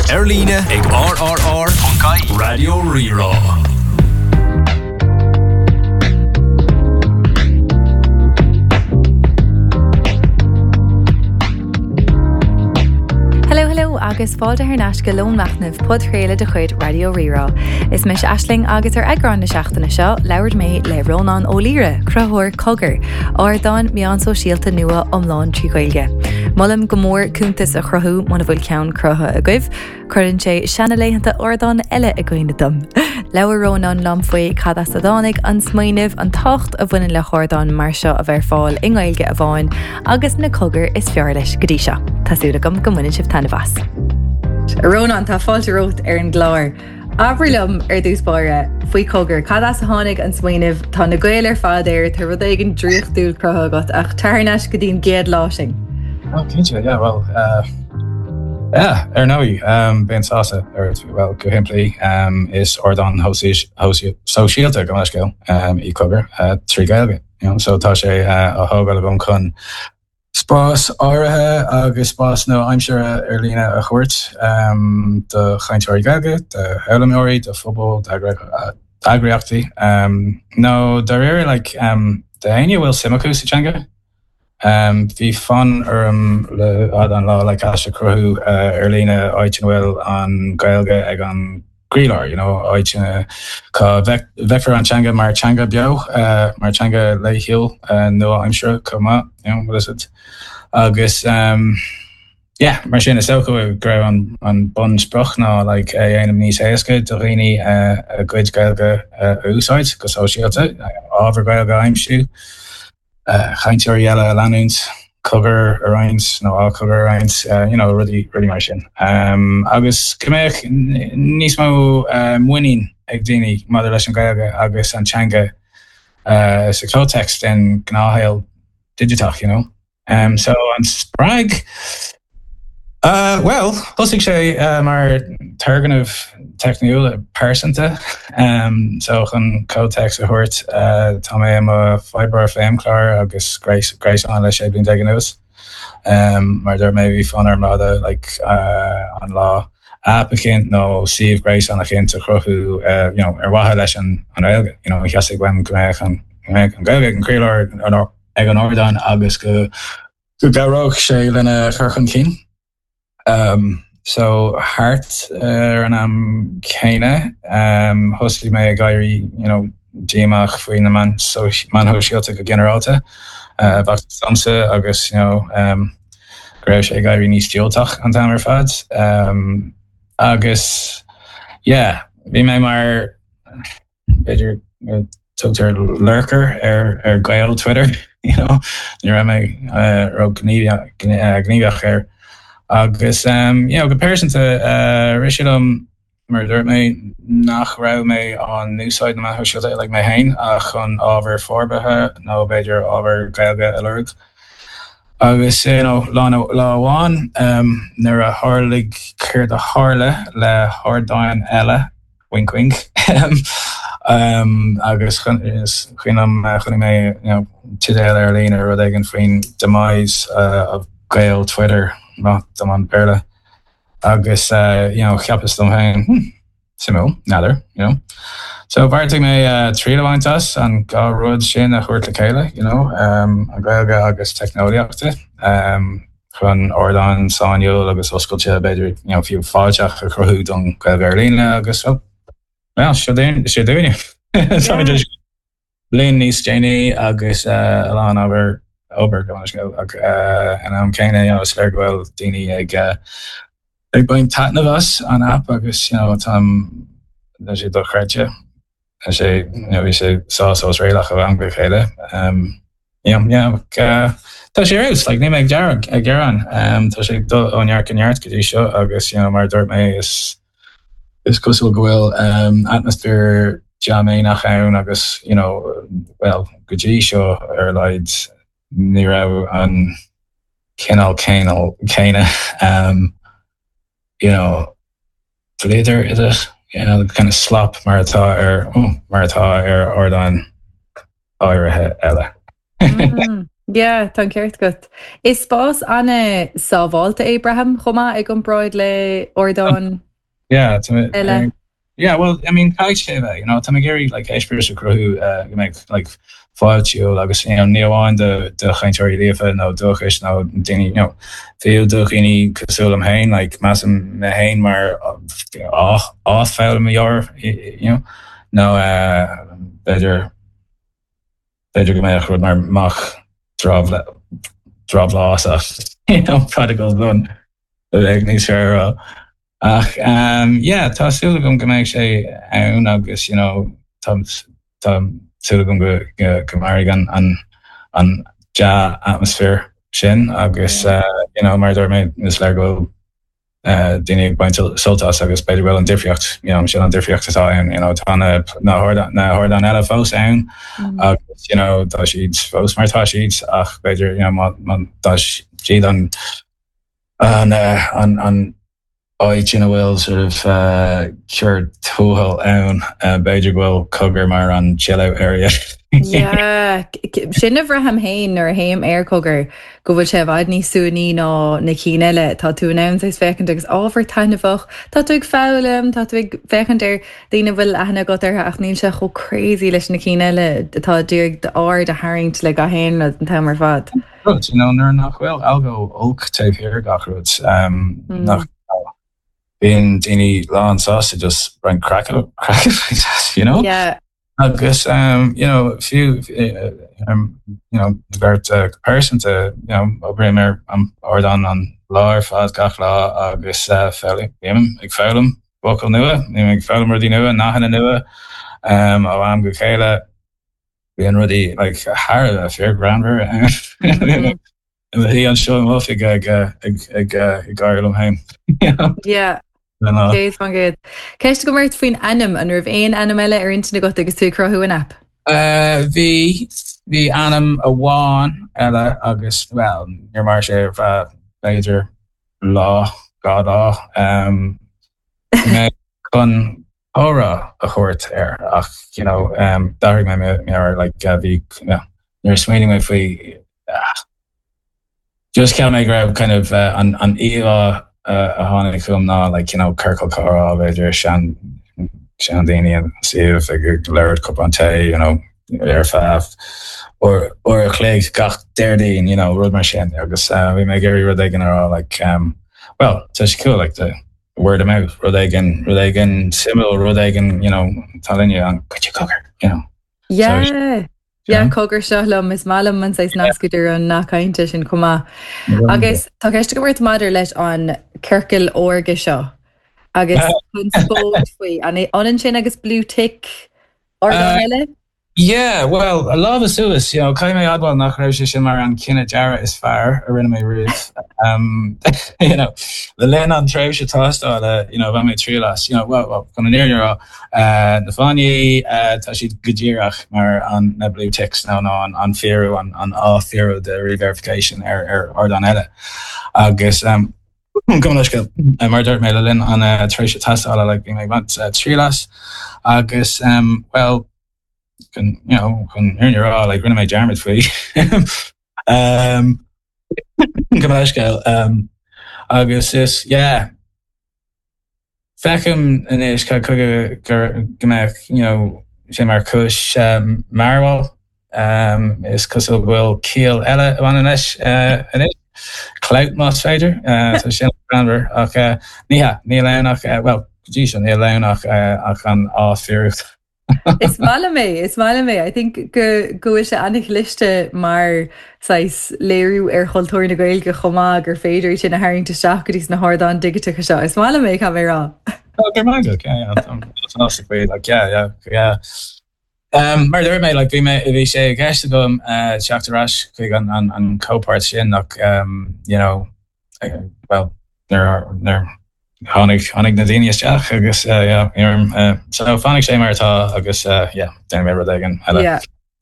Ar líne ag rrr.ie Raidió Rí-Rá. Hello hello agus fáilte thar n-ais go Lón Machnaimh, podchraoladh de chuid Raidió Rí-Rá. Is mise Aisling agus ar eagrán na seachtaine seo, labhair mé le Rónán Ó Laoire, cruthaitheoir Cogar, ardán meán sóisialta nua iomlán trí Ghaeilge. Molaim go mór cuntas a chruthú muna bhfuil ceann cruthaithe agaibh. Cuireann sé seanalaethanta ardán eile i gcuimhne dom. Labhair Rónán liom faoi cad as a dtáinig an smaoineamh, an tábhacht a bhaineann le hardán mar seo a bheith ar fáil i nGaeilge amháin, agus na cogair is fearr leis go dtí seo. Tá súil agam go mbaineann sibh taitneamh as. A Rónán, tá fáilte romhat ar an gclár. Abair liom ar dtús báire faoi Cogar, cad as a tháinig an smaoineamh? Tá na Gaeil ar fad air, tá rud éigin draíochtúil cruthaithe agat, ach tar thar n-ais go dtí an gcéad lá sin. Oh, cinnte, yeah, well, uh, yeah, ar ndóigh, um, bheinn sásta ar well, go shimplí, um, is ardán sóisialta gabh mo leithscéal um, í Cogar uh, trí Gaeilge. You know, so tá sé uh, á thógáil agam chun Spás áirithe agus spás nua-aimseartha ar líne a thabhairt do chainteoirí Gaeilge, do fhoghlaimeoirí, do phobail, d'eagraíochtaí, nó dáiríre like d'éinne a bhfuil suim acu sa teanga. Bhí fonn orm le fada an lá like áis a chruthú ar líne áit ina bhfuil an Ghaeilge ag an gcroílár, you know, áit ina cá bhfeicfear an teanga mar teanga beo, mar teanga laethúil nua-aimseartha chomh maith, you know, what is it? Agus um, yeah, mar sin is dócha go raibh an, an bunsprioc ná like, é a dhéanamh níos éasca do dhaoine a gcuid Gaeilge a úsáid go sóisialta, ábhar Gaeilge a aimsiú. cainteoirí eile a leanúint, cogar a roinnt nó á cogar a roinnt, you know, rudaí, rudaí mar sin. Agus go mbeadh níos mó muinín ag daoine maidir leis an Ghaeilge agus an teanga sa chomhthéacs den ghnáthshaol digiteach, you know. So an spreag, Bhuel, thosaigh sé mar turgnamh teicniúil pearsanta. So chun comhthéacs a thabhairt, tá mé i mo oibreoir feidhmchlár agus gréasáin le 16 bliain anuas. Mar a dúirt mé, bhí fonn orm le fada like an lá aip eicínt nó suíomh gréasáin eicínt a chruthú you know ar mhaithe leis an Ghaeilge. You know, theastaigh uaim go mbeadh an Ghaeilge ag an gcroílár ag an ardán agus go go gcabhródh sé lena chur chun cinn. So thart ar an am céanna, thosaigh mé ag éirí you know díomách faoi na meáin shóisialta go ginearálta. B'fhacthas domsa agus you know go raibh sé ag éirí níos diúltach an t-am ar fad. Agus yeah, bhí mé mar b'fhéidir tugtar lurker ar ar Gael Twitter you know ní raibh mé ró-ghníomhach air agus um, you know, go pearsanta uh, rith sé liom mar a dúirt mé nach raibh mé á n-úsáid na meáin shóisialta like mé féin ach chun ábhar forbartha nó b'fhéidir ábhar Gaeilge a lorg. Agus you know, lá lá amháin um, nuair a tharlaigh céard a tharla le hardáin eile Wink wink. Agus is cuimhin liom chonaic mé you know teideal ar líne rud éigin faoin demise of Gael Twitter, maith dom an Béarla. Agus you know cheapas dom féin hmm, suimiúil, n'fheadar, you know. So bheartaigh mé triail a bhaint as an dhá rud sin a thabhairt le chéile, you know, an Ghaeilge agus teicneolaíochta. Chun ardán sainiúil agus oscailte, b'fhéidir, you know, fiú fáilteach a chruthú don Ghaeilge ar líne agus, well, well, seo dúinn, seo dúinne. Táimid anois bliain níos déanaí agus a lán obair, obair, gabh mo leithscéal, ach an am céanna, you know, is léir go bhfuil daoine ag ag baint taitneamh as an aip agus, you know, táim, tá sé dochreidte. Tá sé, you know, bhí sé sách osréalach ó am go chéile. Um, yeah, yeah, uh, tá sé ar fheabhas, like, níl mé ag gearán, ag gearán. Um, tá sé ag dul ó neart go neart go dtí seo agus, you know, mar a dúirt mé, is, is cosúil go bhfuil um, atmaisféar dea-mhéineach ann agus, you know, well, go dtí seo ar a laghad ní raibh an cineál céanna um, you know, bhliodar is it? You know, kind of slop mar atá ar oh, mar atá ar ardáin áirithe eile. Mm. Yeah, tá an ceart agat. Is spás an-sábháilte é, braithim, chomh maith i gcomparáid le ardáin Yeah, eile. Yeah, well, I mean, caithfidh sé a bheith, you know, tá mé ag iarraidh like eispéireas a chruthú uh, go mbeidh like fáiltiúil agus you know, ní amháin do do chainteoirí líofa nó dúchais nó daoine you know, fiú do dhaoine cosúil liom féin, like measaim mé féin mar athfhoghlaimeoir, you know, nó uh, b'fhéidir B'fhéidir go mbeadh rud mar mac drabhlásach, you know, prodigal son, a bheadh níos fearr a rá. Ach yeah, tá súil agam go mbeidh sé ann agus, you know, tá tá súil agam go go mairfidh an an an dea-atmaisféar sin agus, you know, mar a dúirt mé, is léir go bhfuil daoine ag baint sult as agus b'fhéidir go bhfuil an difríocht, you know, sin an difríocht atá ann, you know, tá na, na hardáin, na hardáin eile fós ann agus, you know, tá siad fós mar atá siad ach b'fhéidir, you know, má, má tá siad an, an, an, an áit ina bhfuil sort of uh, cur tuathail ann, uh, b'fhéidir go bhfuil Cogar mar an chill out area. Yeah, sin a bhraithim féin nuair a théim ar Cogar. go bhfuil sé i bhfad níos suaimhní ná na cinn eile. Tá tú in ann saghas féachaint agus ábhar taitneamhach, tá tú ag foghlaim, tá tú ag féachaint ar daoine a bhfuil aithne agat orthu ach níl sé chomh crazy leis na cinn eile atá ag iarraidh d'aird a tharraingt le gach aon rud an t-am ar fad. Rud, you know, nuair nach bhfuil algo olc taobh thiar gach rud, um, nach bíonn daoine lán sásta just roinnt craic a you know? Yeah. Agus um, you know, fiú um, you know, bheart uh, pearsanta, you know, oibrím ar an ardán an lá ar fad gach lá agus uh, bím ag foghlaim focail nua, bím ag foghlaim rudaí nua, nathanna nua um, ó am go chéile. Bíonn rudaí like, thar a bheith fíorghreannmhar. Mm-hmm. I mo shuí anseo i m'oifig ag ag gáire liom féin. Yeah. 100%. Ceist agam ort faoin ainm, an raibh aon ainm eile ar intinn agat agus tú ag cruthú an aip? Bhí, bhí ainm amháin eile agus, bhuel, níor mhair sé ar feadh b'fhéidir lá, 2 lá. Bhí mé chun comhrá a thabhairt air ach you know d'athraigh mé mo meabhair like bhí you know nuair a smaoinigh mé faoi just cheap mé go raibh kind of an an íomhá a tháinig chugam ná like you know ciorcal comhrá b'fhéidir sean seandaoine ina suíomh ag labhairt cupán tae you know ar feadh uair uair a chloig gach Déardaoin you know rud mar sin agus bhí mé ag iarraidh rud éigin a rá like well tá sé cool like the word of mouth, rud éigin, rud éigin suimiúil, rud éigin, you know, tá linne an cuid cogar, you know. Yeah. So, Yeah, cogar seo liom is maith liom an saghas nasc idir an nath cainte sin chomh maith. Agus tá ceist agam ort maidir leis an ciorcal órga seo agus conspóid faoi an ionann sin agus blue tick ardán eile? Yeah, well, lámha suas, you know, caithfidh mé a admháil nach raibh sé sin mar an cinneadh dearaidh is fearr a rinne mé riamh. Um, you know, le linn an tréimhse tástála, you know, bhain mé triail as, you know, well, well, chun an fhírinne a rá, uh, na fáinní, uh, tá siad go díreach mar an, na blue ticks nó nó an, an fíorú, an, an athfhíorú the re-verification ar, ar ardán eile. Agus, um, Gabh mo leithscéal, mar a dúirt mé le linn an uh, tréimhse tástála, like, bhí mé ag baint uh, triail as agus, um, well, chun, you know, chun an fhírinne a rá, like, rinne mé dearmad faoi. um, gabh mo leithscéal. Um, agus is, yeah, feicim anois cad chuige gur, go mbeadh, you know, sé mar chúis um, mearbhaill. Um, is cosúil go bhfuil ciall eile a bhaineann leis uh, anois. Clout más féidir, uh, tá sin greannmhar ach uh, ní hea, níl ann ach, uh, well, go dtí seo níl ann ach, uh, ach an athfhíorú. Is maith liom é, is maith liom é. I think go go bhfuil sé an-chliste mar saghas léiriú ar chultúr na Gaeilge chomh maith gur féidir é sin a tharraingt isteach go dtí sna hardáin dhigiteacha seo. Is maith liom é, caithfidh mé a rá. Oh, go raibh maith agat, yeah, yeah, tá sásta faoi, like, yeah, yeah, yeah. Um, mar a dúirt mé, like, bhí mé, bhí sé i gceist agam uh, teacht ar ais chuig an, an, an comhpháirt sin ach, um, you know, well, nuair, nuair tháinig, tháinig na daoine isteach agus uh, yeah, uh, so fanfaidh sé mar atá agus uh, yeah, déanfaidh mé rud éigin eile. Yeah.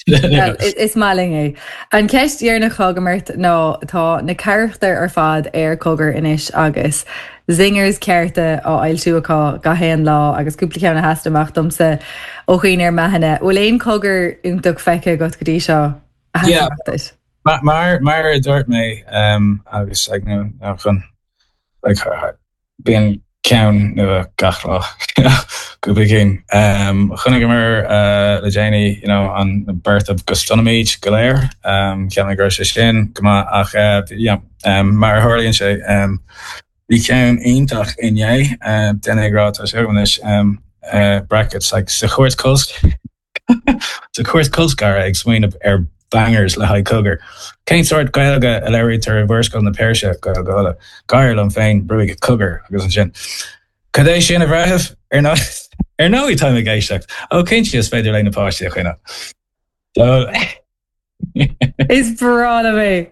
Well, is maith linn é. An cheist dheireanach atá agam ort ná tá na carachtair ar fad ar Cogar anois agus zingers cearta á fhoilsiú acu gach aon lá agus cúpla ceann a sheasann amach domsa ó dhaoine ar m'aithne. Bhfuil aon cogar iontach feicthe agat go dtí seo a sheasann amach duit? Mar mar a dúirt mé agus like you chun like bíonn ceann nua gach lá cúpla cinn. Chonaiceamar le déanaí you know an beart go stopfaimid go léir cheap mé go raibh sé sin go maith ach you know mar a tharlaíonn sé bhí ceann iontach inné duine ag rá tá sé agam anois brackets like sa chúirt cos Sa chúirt colscartha ag smaoineamh ar bangers le haghaidh Cogar. Cén sórt Gaeilge a labhraítear i bhMurascaill na Peirse, Gaeilge Uladh? Gáire liom féin, brúigh Cogar agus ansin. Cad é sin a bhreithimh? Ar ndóigh táim ag éisteacht. Ó cinnte is féidir léi na páistí a choinneáil. Is breá liom é!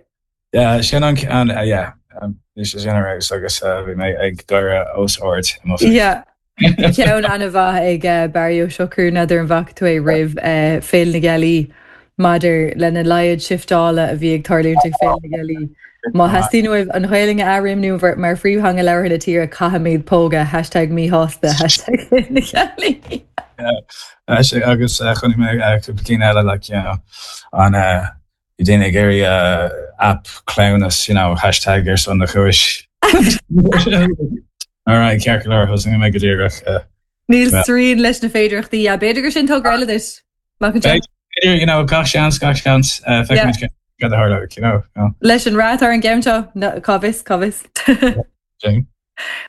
Yeah, sin an ceann, yeah. Bhí sé sin ar fheabhas agus bhí mé ag gáire os ard i mo Yeah. Ceann an-mhaith ag Barry Ó Siochrú, n'fheadar an bhfaca tú é roimh Féile na Gealaí maidir lena laghad shifteála a bhí ag tarlúint ag Féile na Gealaí. Má theastaíonn uaibh an Ghaelainn a athréimniú mar phríomhtheanga labhartha na tíre, caithfimid pógadh, hashtag míshásta, hashtag Féile na Gealaí. Yeah, agus chonaic mé cúpla cinn eile like, you know, an Bhí daoine ag iarraidh aip cleamhnas, you know, hashtag ar son na chúis. Alright, ceart go leor, thosaigh mé go díreach. Níl srian leis na féidearthachtaí, yeah, b'fhéidir gur sin togra eile duit. Mac an B'fhéidir, you know, gach seans, gach seans, feicfimid cad a tharlóidh, you know. Leis an rath atá ar an gceann seo, cá bhfios, cá bhfios. Jane.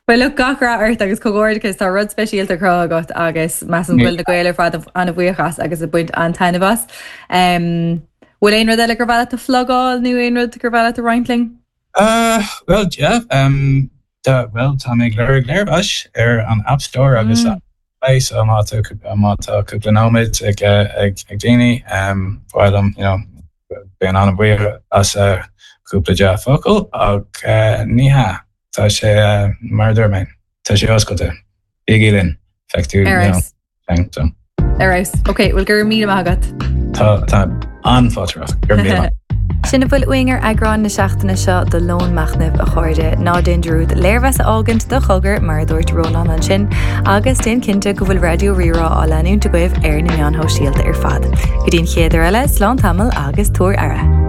Bhuel look, gach rath ort agus comhghairdeachas, tá rud speisialta cruthaithe agat agus measaim go bhfuil na Gaeil ar fad an-bhuíoch as agus ag baint an-taitneamh as. Bhfuil aon rud eile gur mhaith leat a phlugáil nó aon rud gur mhaith leat a roinnt linn? Uh, well, yeah, um, tá, well, tá mé ag lorg léirmheas ar an App Store agus mm. Play, so má tá má tá cúpla nóiméad ag ag ag daoine, um, ba mhaith liom, you know, bheinn an-bhuíoch as uh, cúpla dea-fhocal ach uh, ní hea. Tá sé, mar a dúirt mé, tá sé oscailte. Bígí linn. Feicfidh tú, you know, thing, so. Ar fheabhas. Ok, bhuel go raibh míle maith agat. Tá, tá an-fháilte romhat. Go raibh míle maith. Sin a bhfuil uainn ar eagrán na seachtaine seo de Lón Machnaimh, a chairde. Ná déan dearúd léirmheas a fhágaint do Chogar, mar a dúirt Rónán ansin, agus déan cinnte go bhfuil Raidió Rí-Rá á leanúint agaibh ar na meáin shóisialta ar fad. Go dtí an chéad uair eile, slán tamall agus tabhair aire.